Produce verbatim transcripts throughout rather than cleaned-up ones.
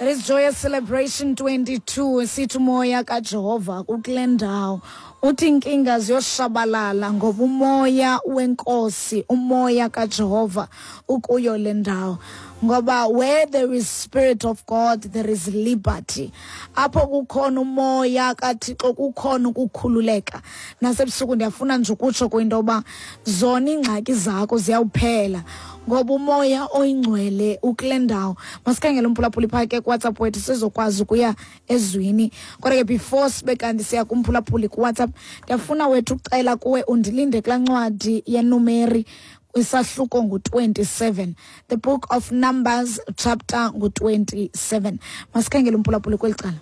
That is Joyous Celebration twenty-two. Sithi umoya kaJehova kule ndawo. Uthi inkinga ziyoshabalala ngoba umoya wenkosi, umoya kaJehova ukuyo le ndawo. Ngoba where there is spirit of God, there is liberty. Apho kukhona umoya kaThixo kukhona ukukhululeka. Nasebusuku ndiyafuna nje ukutsho kwinto yoba zona iingxaki zakho ziyawuphela ngoba umoya oyingcwele ukule ndawo. Masikhangele umphulaphuli phaa ke kuWhatsApp wethu sizokwazi ukuya ezwini. Kodwa ke before sibe kanti siya kumphulaphuli kuWhatsApp, ndiyafuna wethu ucela kuwe undilinde kulaa ncwadi yeNumeri isahluko ngu twenty-seven, the book of Numbers chapter ngu twenty-seven. Masikhangele umphulaphuli kweli cala.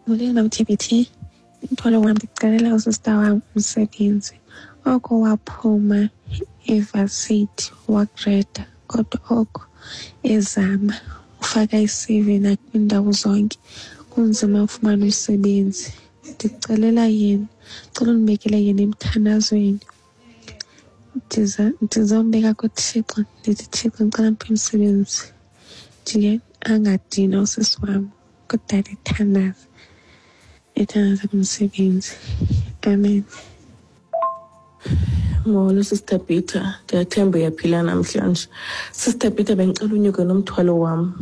Molweni, Mam T B T. Umthwalo wam, ndicelela usista wam umsebenzi. Oko waphuma evasithi wagreda, kodwa oko ezama ufaka i-C V nakwiindawo zonke, kunzima ufumana umsebenzi. Ndicelela yena, ndicela undibekele yena emthandazweni. Ndiza ndizombeka kuThixo, ndithi, "Thixo, ndicela mphe umsebenzi." Nje angadinwa usisi wam, kudala ethandaza, ethandaza kumsebenzi. Amen. Molo, Sister Peter, ndiyathemba uyaphila namhlanje. Sister Peter, bendicela unyuke nomthwalo wam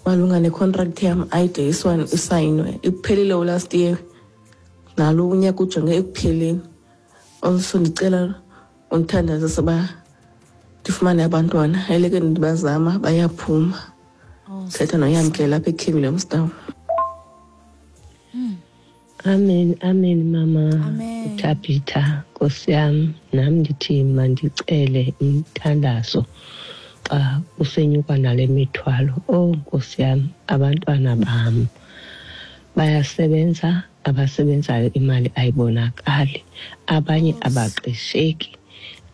malunga necontract yam ayide isayinwe. Iphelile last year, nalo unyaka ujonge ekupheleni. Also ndicela undithandazise uba ndifumane abantwana, eleke ndibazama bayaphuma. Thetha noYamkela apha eKing Williamstown. Amen, amen, mama. Amen. Tabitha, Nkosi yam, nam ndithi mandicele umthandazo xa kusenyuka nale mithwalo. Oh Nkosi yam, abantwana bam bayasebenza, abasebenzayo imali ayibonakali, abanye abaqesheki.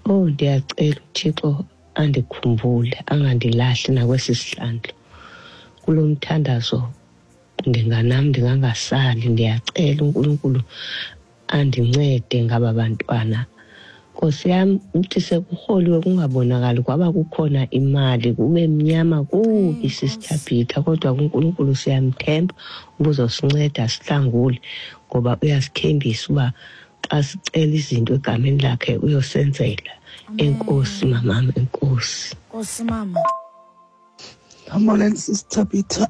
Oh, ndiyacela uThixo andikhumbule, angandilahli nakwesi sihlandlo. Kulo mthandazo ndinganam ndingangasali, ndiyacela uNkulunkulu andincede ngaba bantwana. Nkosi yam, uthi sekurholiwe kungabonakali kwaba kukhona imali, kube mnyama kubi, Sister Peter, kodwa kuNkulunkulu siyamthemba ubuzosinceda sihlangule, ngoba uyasithembisa uba xa sicela izinto egameni lakhe uyosenzela. Enkosi mamam, enkosi. Nkosi mama. Molweni, Sister Peter.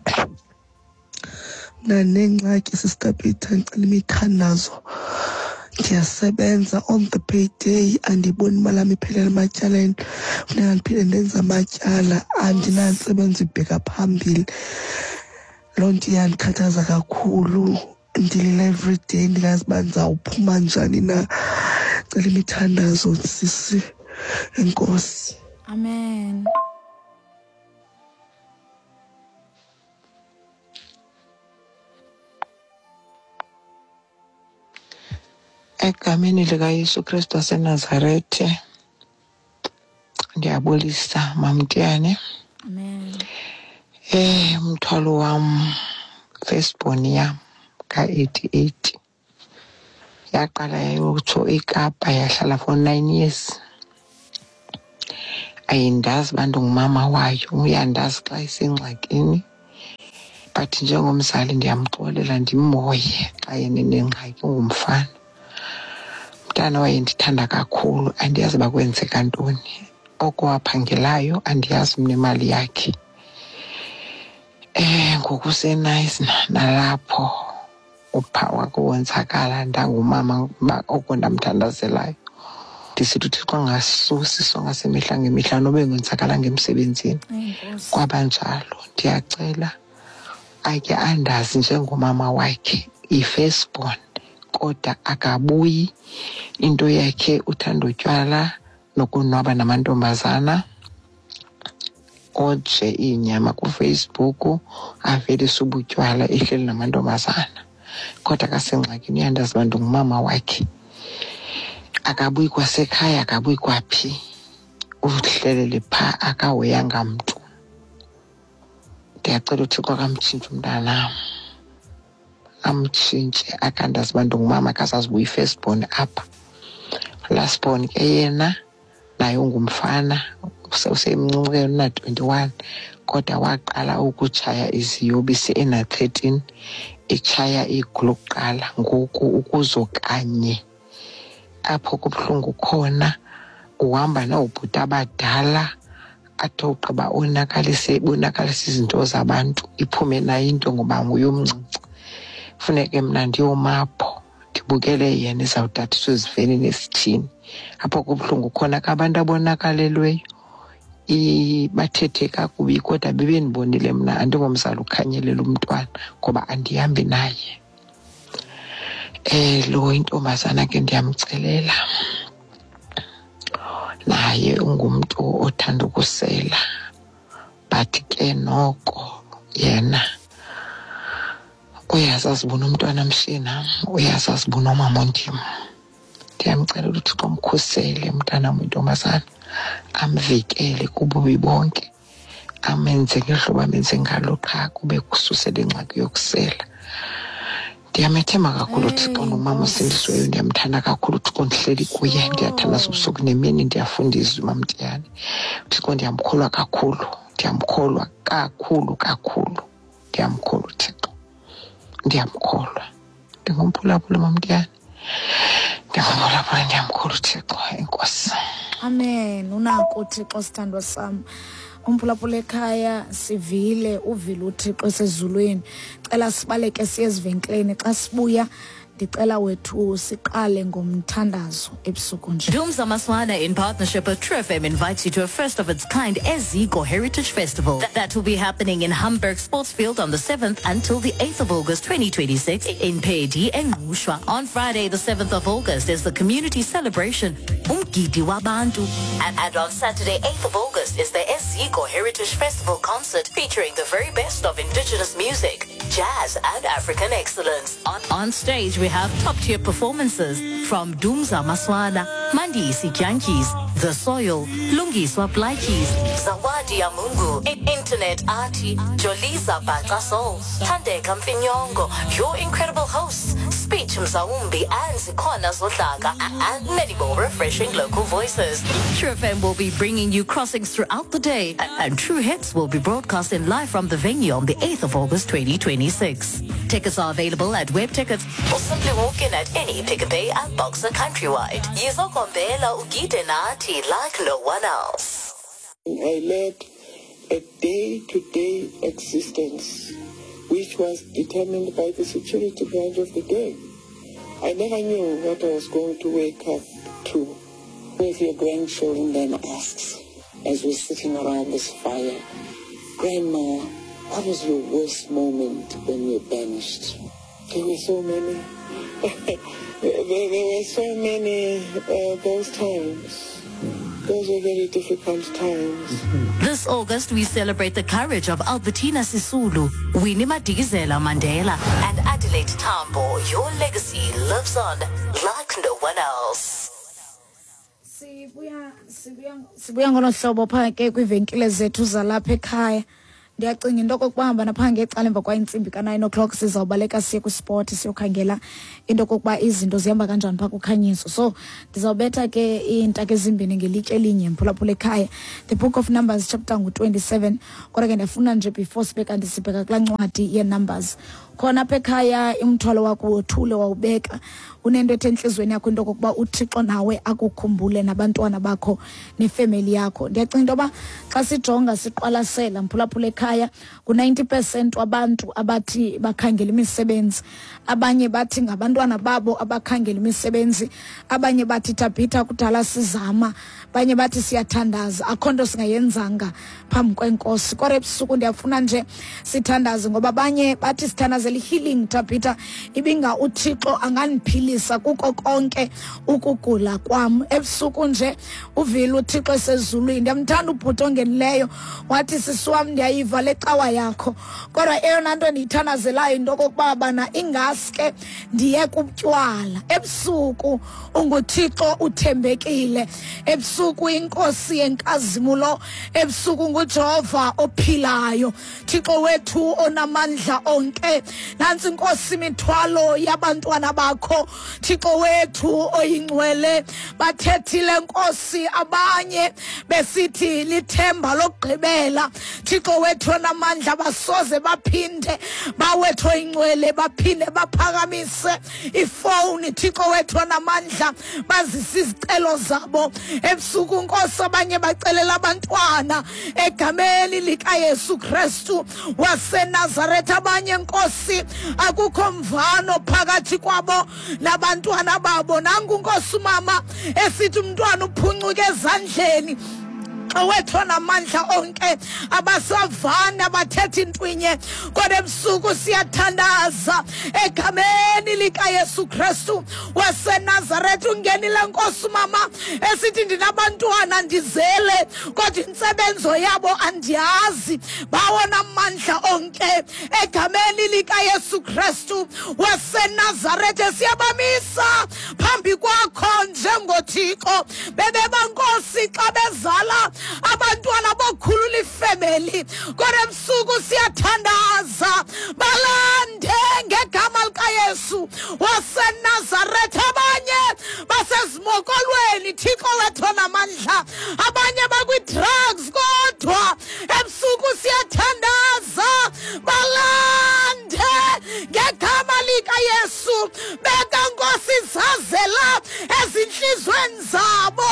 Mna ndinengxaki, Sister Peter, ndicela imithandazo. Ndiyasebenza, on the payday andiyiboni imali yam, iphelela ematyaleni. Funeka ndiphinde ndenze amatyala, andinantsebenzo ibheka phambili. Loo nto iyandikhathaza kakhulu. Ndilila everyday, ndingazi uba ndizawuphuma njani na. Cela imithandazo, sisi. Enkosi. Amen. Egameni likaYesu Kristu waseNazarethe, ndiyabulisa, Mamtiyane. Amen. Eh umthwalo wam, firstborn yam ka-eighty-eight yaqala yayotsho eKapa, yahlala for nine years. Ayindazi uba ndingumama wayo, uyandazi xa isengxakini, but njengomzali ndiyamxolela, ndimhoye xa yena enengxaki. Ungumfana, umntana wayendithanda kakhulu. Andiyazi uba kwenzeka ntoni, oko waphangelayo andiyazi mna imali yakhe. Eh ngoku useNayisi, nalapho upha wakuwonzakala. Ndangumama oko ndamthandazelayo, ndisithi uThixo angasusi isonka semihla ngemihla noba engonzakalanga emsebenzini. Enkosi. Kwaba njalo. Ndiyacela ake andazi njengomama wakhe, yi-firstborn, kodwa akabuyi. Into yakhe uthanda utywala nokonwaba namantombazana, oje iinyama kuFacebook, avelise ubutywala ehleli namantombazana, kodwa akasengxakini uyandazi uba ndingumama wakhe. Akabuyi kwasekhaya, akabuyi kwaphi, uhlelele phaa, akahoyanga mntu. Ndiyacela uThixo akamtshintshe umntanam, amtshintshe, akandazi uba ndingumama, akazazi uba uyi-firstborn apha. Lastborn ke yena naye ungumfana, usemncinci ke, una-twenty-one, Kodwa waqala ukutshaya iziyobisi ena-thirteen, etshaya igulu lokuqala. Ngoku ukuzo kanye apho kubuhlungu khona, uhamba noobhuti abadala athi ugqiba onakalise, bonakalise izinto zabantu, iphume nayo into ngoba nguye omncinci. Funeke mna ndiyomapho ndibukele yena ezawutathiswa ezivenini esithini. Apho kubuhlungu khona ke abantu abonakalelweyo bathethe kakubi, kodwa bebendibonile mna andingomzali ukhanyelela umntwana ngoba andihambi naye. Eh lo intombazana ke ndiyamcelela, naye ungumntu othanda ukusela, but ke noko yena uyazazi bona umntwana mshiye nam, uyazazi bona umama ondim. Ndiyamcela uThixo amkhusele umntanam intombazana, amvikele kububi bonke, amenze ngehlobo amenze ngalo, qha kube kususele ingxaki yokusela. Ndiyamethemba kakhulu uThixo ngumama osindisiweyo, ndiyamthanda kakhulu uThixo, ndihleli kuye, ndiyathandaza ubusuku nemini, ndiyafunda izwi mamtiyane. uThixo ndiyamkholwa kakhulu, ndiyamkholwa kakhulu kakhulu, ndiyamkholwa uThixo, ndiyamkholwa. Ndingumphulaphula mamtiyane, ndingumphulaphula, ndiyamkholwa uThixo. Enkosi. Amen. Unako uThixo, sithandwa sam. Umphulaphula ekhaya, sivile, uvile uThixo esezulwini. Cela sibaleke siye ezivenkileni. Xa sibuya ndicela wethu siqale ngomthandazo ebusuku nje. Dumza Maswana in partnership with True F M invites you to a first of its kind Eziko Heritage Festival. That, that will be happening in Hamburg Sportsfield on the seventh until the eighth of August twenty twenty-six in Pedi and Ngushwa. On Friday the seventh of August is the community celebration Umgidi Wabantu. And, and on Saturday eighth of August is the Eziko Heritage Festival concert featuring the very best of indigenous music, jazz and African excellence. On, on stage we have top-tier performances from Dumza Maswana, Mandisi Jantjies, The Soil, Lungiswa Blaikies, Zawadi Amungu, Internet Arti, Joliza Batasol, Thandeka Mfinyongo, your incredible hosts, Speech Mzaumbi and Zikona Zodlaka, and many more refreshing local voices. True F M will be bringing you crossings throughout the day, and True Hits will be broadcasting live from the venue on the eighth of August twenty twenty-six. Tickets are available at Web Tickets or simply walk in at any Pick n Pay and Boxer countrywide. Yizokombela ugide nathi like no one else. I led a day-to-day existence which was determined by the security branch of the day. I never knew what I was going to wake up to. If your grandchildren then asks, as we're sitting around this fire, Grandma, what was your worst moment when you were banished? There were so many. there, there were so many uh, those times. Those were very difficult times. This August, we celebrate the courage of Albertina Sisulu, Winnie Madikizela Mandela, and Adelaide Tambo. Your legacy lives on like no one else. Sibuya sibuya sibuya ngonohlobo pha ke kwivenkile zethu zalapha ekhaya. Ndiyacinga into okokuba napha ngecala emva kwayintsimbi ka-nine o'clock sizawubaleka siye kwisport siyokhangela into okokuba izinto zihamba kanjani phaa kukhanyiso. So ndizawubetha ke iintaka ezimbini ngelitye elinye mphulaphula ekhaya. The Book of Numbers chapter ngu-twenty-seven. Kodwa ke ndiyafuna nje before sibe kanti sibheka kulaa ncwadi ye-Numbers. Khona apha ekhaya umthwalo wakho wothule wawubeka, unento ethe entliziyweni yakho into okokuba uThixo nawe akukhumbule nabantwana bakho nefemeli yakho. Ndiyacinga into yoba xa sijonga siqwalasela mphulaphula ekhaya ngu-ninety percent wabantu abathi bakhangela imisebenzi, abanye bathi ngabantwana babo abakhangela imisebenzi, abanye bathi Tabitha kudala sizama, abanye bathi siyathandaza, akho nto singayenzanga phambi kwenkosi. Kodwa ebusuku ndiyafuna nje sithandaze ngoba abanye bathi sithandaze healing Tabitha, ibinga uThixo angandiphilisa kuko konke ukugula kwam. Ebusuku nje uvile uThixo esezulwini. Ndiyamthanda ubhuti ongenileyo wathi sisi wam ndiyayiva le cawa yakho, kodwa eyona nto ndiyithandazelayo into okokuba bana ingaske ndiye kubutywala. Ebusuku unguThixo uthembekile, ebusuku inkosi yenkazimulo, ebusuku nguJehova ophilayo, Thixo wethu onamandla onke. Nantsi Nkosi imithwalo yabantwana bakho Thixo wethu oyingcwele. Bathethile Nkosi abanye besithi lithemba lokugqibela. Thixo wethu onamandla, basoze baphinde bawethu oyingcwele baphinde baphakamise ifowuni. Thixo wethu onamandla, bazise izicelo zabo ebusuku Nkosi. Abanye bacelela abantwana egameni likaYesu Kristu waseNazaretha. Abanye Nkosi akukho mvano phakathi kwabo nabantwana babo. Nangu Nkosi umama esithi umntwana uphuncuke ezandleni. Wethu namandla onke, abasavana bathetha intwinye, kodwa ebusuku siyathandaza egameni likaYesu Kristu waseNazaretha. Ungenile Nkosi mama esithi ndinabantwana ndizele, kodwa intsebenzo yabo andiyazi. Bawona amandla onke egameni likaYesu Kristu waseNazaretha, siyabamisa phambi kwakho njengoThixo. Bebeba Nkosi xa bezala abantwana bokhulula ifemeli, kodwa ebusuku siyathandaza balande ngegama likaYesu waseNazaretha. Abanye basezimokolweni Thixo wethu namandla, abanye bakwi-drugs, kodwa ebusuku siyathandaza balande ngegama likaYesu. Beka Nkosi zazela ezinhlizweni zabo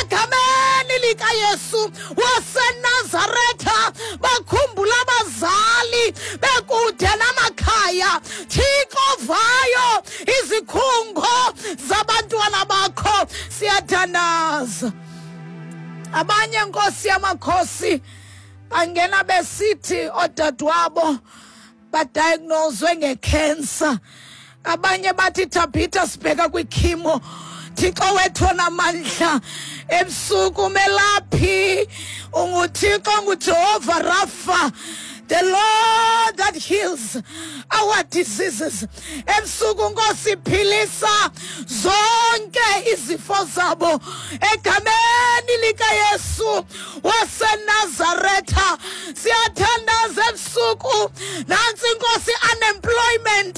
egameni likaYesu waseNazaretha. Bakhumbula abazali bekude namakhaya. Thixo vayo izikhungo zabantwana bakho, siyathandaza. Abanye Nkosi yamakhosi bangena besithi odadewabo badiagnoswe ngecancer. Abanye bathi Tabitha sibheka kwichemo. Thixo wethu namandla, ebusuku melaphi unguThixo, nguJehova Rafa, the Lord that heals our diseases. Ebusuku Nkosi philisa zonke izifo zabo egameni likaYesu waseNazaretha. Siyathandaza ebusuku. Nantsi Nkosi unemployment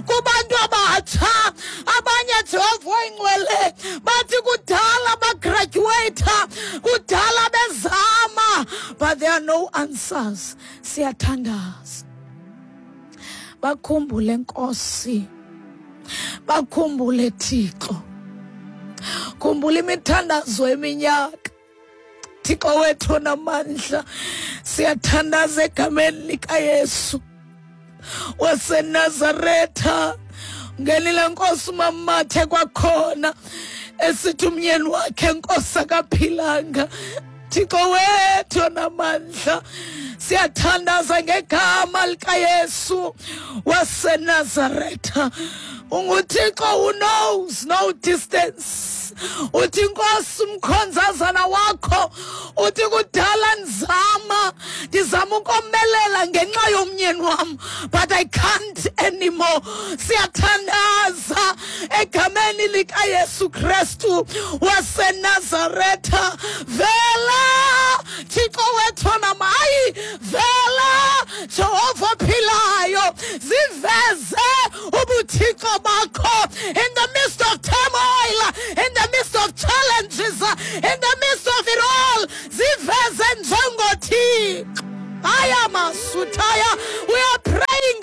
kubantu abatsha. Abanye Jehova oyingcwele bathi kudala bagraduate, kudala bezama, but there are no answers. Siyathandaza bakhumbule Nkosi, bakhumbule Thixo. Khumbula imithandazo eminyaka Thixo wethu namandla. Siyathandaza egameni likaYesu waseNazaretha. Ngenile Nkosi umamathe kwakhona esithi umyeni wakhe Nkosi akaphilanga. Thixo wethu namandla, siyathandaza ngegama likaYesu waseNazaretha. UnguThixo who knows no distance. Uthi Nkosi umkhonzazana wakho uthi kudala ndizama ndizama ukomelela ngenxa yomnyeni wam, but I can't anymore. Siyathandaza egameni likaYesu Kristu waseNazaretha. Vela Thixo wethu namayi, vela Jehova philayo, ziveze ubuthixo bakho in the midst of turmoil, in the midst of challenges, in the midst of it all. Ziveze njengoThixo. Aya masutaya, we are praying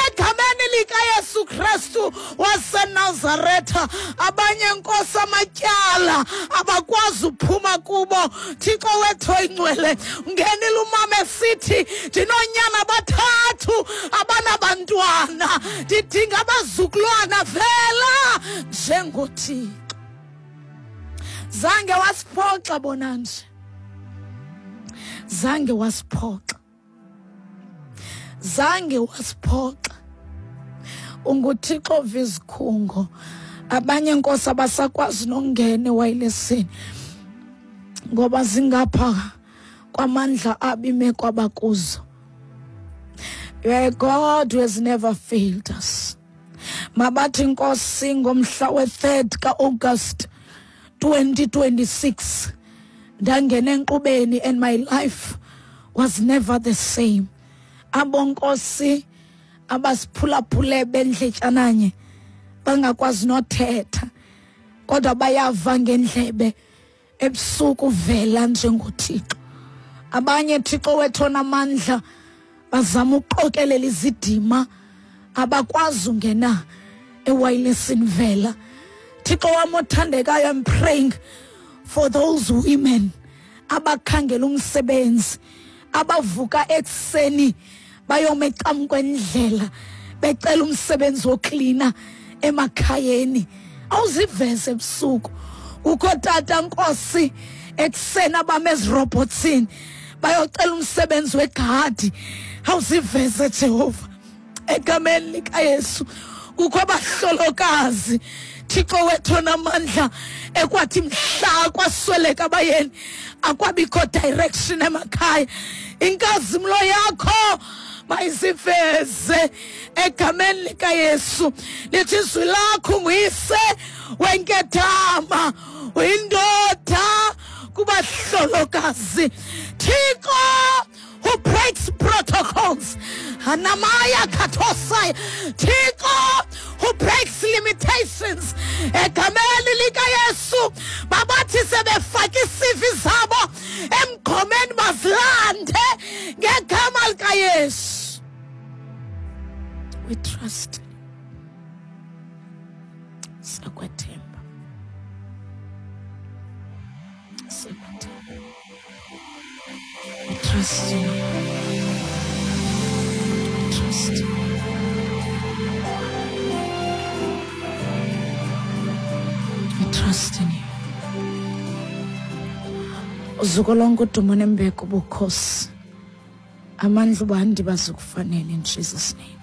egameni likaYesu Kristu waseNazaretha. Abanye Nkosi amatyala abakwazi uphuma kubo. Thixo wethu oyingcwele, ungenile umama esithi ndinoonyana bathathu abanabantwana, ndidinga abazukulwana. Vela njengoThixo. Zange wasiphoxa bona nje, zange wasiphoxa, zange wasiphoxa. UnguThixo vizikhungo. Abanye Nkosi abasakwazi nokungena ewayilesini ngoba zingapha kwamandla abime kwabakuzo. You are a God who has never failed us. Mabathi Nkosi ngomhla we-third ka-August twenty twenty-six ndangena enkqubeni and my life was never the same. Abo Nkosi Abasiphulaphule bendletyananye bangakwazi nothetha, kodwa bayava ngendlebe ebusuku vela njengoThixo. Abanye Thixo wethu onamandla bazama ukuqokelela izidima, abakwazi ungena ewayilesini vela. Thixo wam othandekayo, I'm praying for those women abakhangela umsebenzi, abavuka ekuseni bayome ecam kwendlela becela umsebenzi woklina emakhayeni. Awuziveze ebusuku. Kukho tata Nkosi ekuseni abame ezirobotsini bayocela umsebenzi wegadi. Awuziveze Jehova egameni likaYesu. Kukho abahlolokazi Thixo wethu onamandla ekwathi mhla kwasweleka abayeni akwabikho direction emakhaya. Inkazimlo yakho mayiziveze egameni likaYesu. Lithi izwi lakho nguyise wenkethama, uyindoda kubahlolokazi. Thixo who breaks protocols, Hanamaya katosai. Thixo who breaks limitations egameni likaYesu. Babathi sebefake isivi zabo emgqomeni bazilande ngegama likaYesu. We trust. Siyakwethemba. Siyakwethemba. We trust you. We trust you. We trust in you. Uzuko lonke udumo nembeko bukhosi. Amandla ubandi bazokufanele in Jesus' name.